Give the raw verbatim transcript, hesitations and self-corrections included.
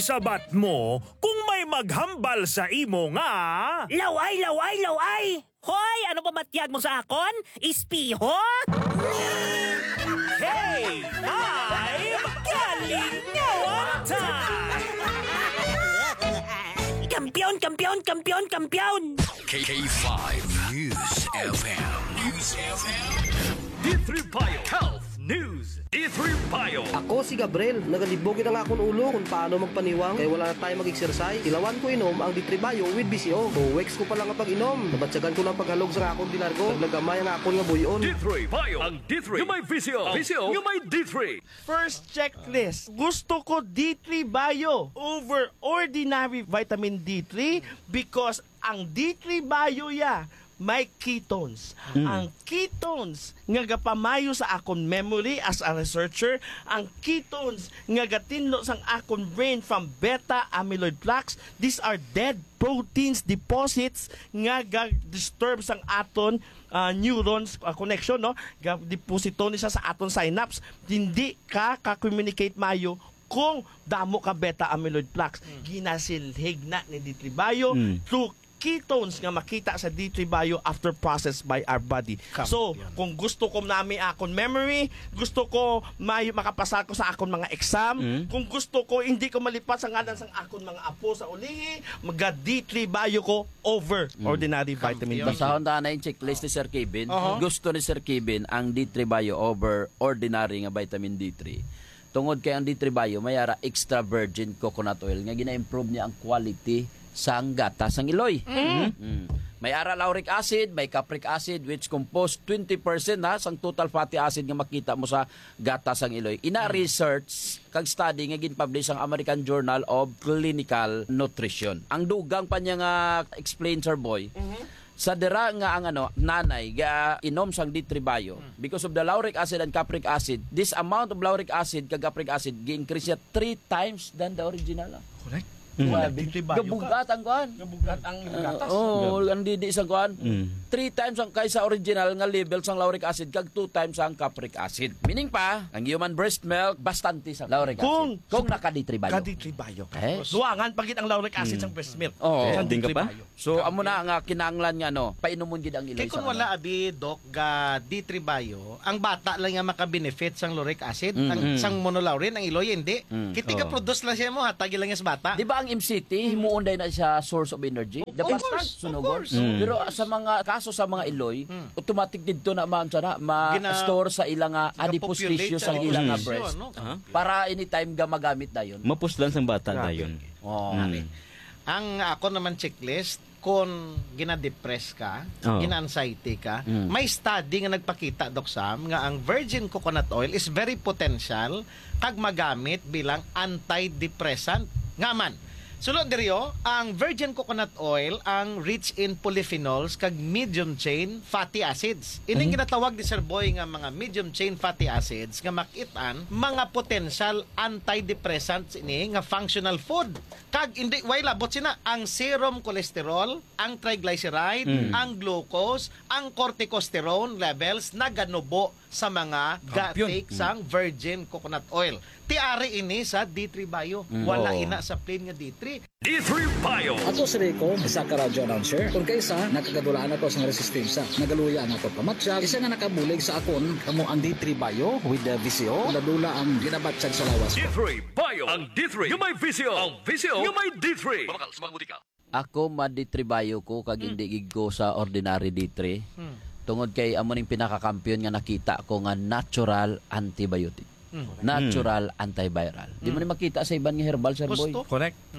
Sabat mo kung may maghambal sa imo nga laway, laway, laway! Hoy! Ano pa matyag mo sa akon? Espiho? K five Kalingawan Time! Kampiyon, kampiyon, kampiyon, kampiyon! K five News F M. News F M. D three Bio Health News. D three Bio. Ako si Gabriel. Nagalibog ang akon ulo kung paano magpaniwang kay wala na tayo mag-exercise. Ilawan ko inom ang D three Bio with V C O. Two weeks ko pa lang ang pag-inom. Nabatyagan ko lang paghalog sa akon di largo. Naglagamay ang akon nga buyon. D three Bio. Ang D three nga may V C O. V C O nga may D three. First checklist. Gusto ko D three Bio over ordinary vitamin D three because ang D three Bio ya may ketones. Mm. Ang ketones nga gapamayo sa akon memory as a researcher, ang ketones nga gatinlo sang akon brain from beta amyloid plaques, these are dead proteins deposits nga ga-disturb sang aton, ah, neurons, ah, connection, no? Ga-deposito ni siya sa aton synapse. Hindi ka ka-communicate mayo kung damo ka beta amyloid plaques. Mm. Ginasilhig na ni D three Bio Mm. through ketones nga makita sa D three Bio after processed by our body. Kampiyon. So, kung gusto ko nami akon memory, gusto ko may makapasa ko sa akon mga exam, Mm. kung gusto ko hindi ko malipat sa ngalan sang akon mga apo sa ulihi, maga D three Bio ko over Mm. ordinary vitamin Kampiyon. D three. Basahon ta na yung checklist ni Sir Kevin. Oho. Gusto ni Sir Kevin ang D three Bio over ordinary nga vitamin D three. Tungod kay ang D three Bio may ara extra virgin coconut oil nga gina-improve niya ang quality sang gatas sang iloy. Mm. Mm. May ara lauric acid, may capric acid, which compose twenty percent na sang total fatty acid nga makita mo sa gatas sang iloy. Ina Mm. research kag study nga gin-publish sang American Journal of Clinical Nutrition. Ang dugang pa niya nga explain, Sir Boy, Mhm. sa dira nga ang, ano, nanay ga inom sang D three Bio, Hmm. because of the lauric acid and capric acid, this amount of lauric acid kag capric acid gi-increase niya three times than the original. Correct. Hmm. Wala, Grabe. D three Bio ka. Gabugat ang kuan. Gabugat ang Ah, gatas. Oh, ang didi sa kuan. Hmm. Three times ang kaysa original nga level sang lauric acid kag two times ang capric acid. Meaning pa, ang human breast milk bastante sa lauric acid. Kung Kung naka D three Bio. Ka D three Bio. Eh? Duangan pa gid ang lauric acid Hmm. sang breast milk. Oo. Sang Ding ka D three pa? Bio. So, amo na nga kinahanglan nga, ano, painumon gid ang iloy Kay kung sa wala, ano. Abi, Doc, ga D three Bio, ang bata lang nga makabenefit sang lauric acid, Mm. ang Mm. sang monolaurin, ang iloy, hindi. Mm. Kiti ka Oh. produce lang siya mo, hatag lang sa bata. Di ba ang M C T, himuon day na siya source of energy? Of The course, pasta, of sunugon. course. Mm. Pero sa mga kaso sa mga iloy, Mm. automatic didto na, ma'am, sana, ma-, Gina-, store sa ilang, ah, gina-populate adipose tissue sa sa ilang, ah, adipose breast. tissue, ano? Aha. Para anytime ga magamit dayon. Mapuslan sang bata Grabe. dayon. Oo. Mm. Ang ako naman checklist, kung gina-depress ka, Oh. gina-anxiety ka, Mm. may study nga nagpakita, Doc Sam, nga ang virgin coconut oil is very potential kag magamit bilang antidepressant. Nga man, sulod diri, oh, ang virgin coconut oil ang rich in polyphenols kag medium chain fatty acids. Ining Mhm. ginatawag ni Sir Boy nga mga medium chain fatty acids nga makit-an mga potential antidepressants ini nga functional food. Kag hindi, way labot sina, ang serum cholesterol, ang triglyceride, Mm. ang glucose, ang corticosterone levels naganubo sa mga Kampiyon. ga-take Mm. sang virgin coconut oil. Ti ari ini sa D three Bio. Mm. Wala Oo. ina sa plain nga D three. D three Bio. Ako si Rico, isa ka radyo announcer. Kung kaisa, nakagadulaan ako sa resistensya. Nagaluya ang ako pamatyag. Isa nga nakabulig sa akon, kamo ang D three Bio with the V C O. Dula-dula ang ginabatyag sa lawas ko. D three Bio. Ang D three nga may V C O. Ang V C O nga may D three. Mabakal sa mga butika. Ako, ma-D three Bio ko, kag Hmm. hindi gid ko sa ordinary D three. Hmm. Tungod kay amo ning pinakakampiyon nga nakita ko nga natural antibiotic. Hmm. Natural Hmm. antiviral. Di mo Hmm. ni makita sa iban nga herbal, Sir Boy. Gusto? Correct.